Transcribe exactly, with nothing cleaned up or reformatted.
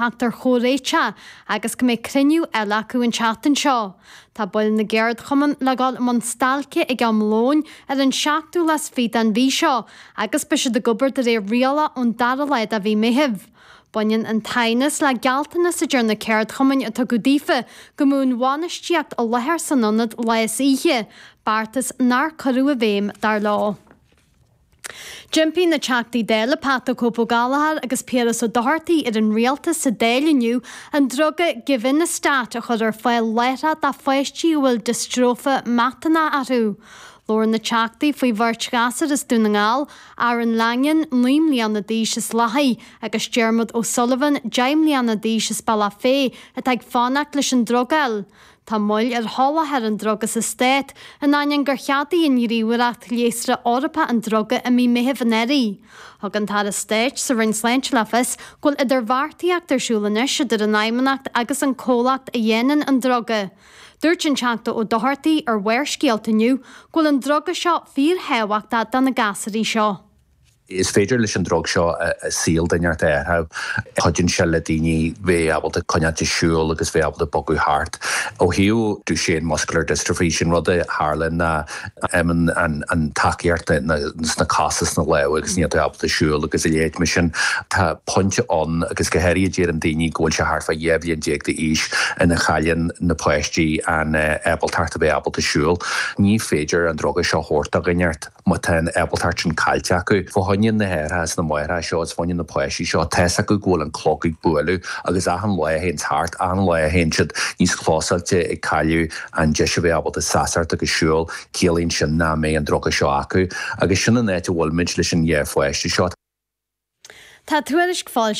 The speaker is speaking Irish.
Teacht ar chomhréiteach agus go mbeidh cruinniú eile acu an tseachtain seo. Tá baill na gceardchumann le dhul i mbun stailce ag am lóin ar an seachtú lá is fiche den mhí seo agus beidh siad ag obair de réir rialach ón dara lá de mhí Meithimh. Baineann an t-aighneas le gealltanas a deir na ceardchumainn a tugadh daofa go mbeadh an bhainistíocht i láthair san ionad lá is oíche, beartas nár cuireadh i bhfeidhm, dar leo. D'impigh na Teachtaí Dála Pat the Cope Ó Gallchóir agus Piaras Ó Dochartaigh ar an Rialtas sa Dáil inniu an druga Givinostat a chur ar fáil láithreach do pháistí a bhfuil diostróife miotónach orthu. Labhair na Teachtaí faoi bheirt ghasúr as Dún na nGall, Aaron Langan, naoi mbliana d'aois as Lathaigh, agus Diarmuid O'Sullivan, deich mbliana d'aois as Bealach Féich, atá ag fanacht leis an druga a fháil. Tá moill ar sholáthar an druga sa Stát, in ainneoin gur cheadaigh an Ghníomhaireacht Leigheasra Eorpach an druga i mí Meithimh anuraidh. Thug an tAire Stáit sa Roinn Sláinte le fios go bhfuil idirbheartaíocht ar siúl anois idir an Fheidhmeannacht agus an comhlacht a dhéanann an druga. Dúirt an Teachta Ó Dochartaigh ar Bharrscéalta inniu go bhfuil an druga seo fíorthábhachtach do na gasúirí seo. Is féidir leis an drug seo saol duine a athrú. Cuidíonn sé le daoine bheith ábalta coinneáil ag siúl agus bheith ábalta bogadh thart. Ó thaobh Duchenne muscular dystrophy sin rud a tharlaíonn ná imíonn an an tacaíocht sna cosa sna lámha agus níl tú ábalta siúl agus a leithéid mar sin. Tá pointe ann agus go háirithe deireann daoine go bhfuil sé thart fá dhá bhliain déag d'aois ina chailleann na páistí an ábaltacht a bheith ábalta siúl. Ní féidir an druga seo a thabhairt do dhuine má tá an ábaltacht sin caillte acu. Fá choinne na haithreacha is na máithreacha seo is fá choinne na páistí seo, tá's acu go bhfuil an clog ag bualadh agus achan lá a théann thart, achan lá a théann siad níos closáilte ag cailleadh an deis a bheith ábalta seasamh agus siúl, ciallaíonn sin nach mbeidh an druga seo acu. Agus sin an áit a bhfuilimid leis an dhá pháiste seo. Tá tuairisc foilsithe.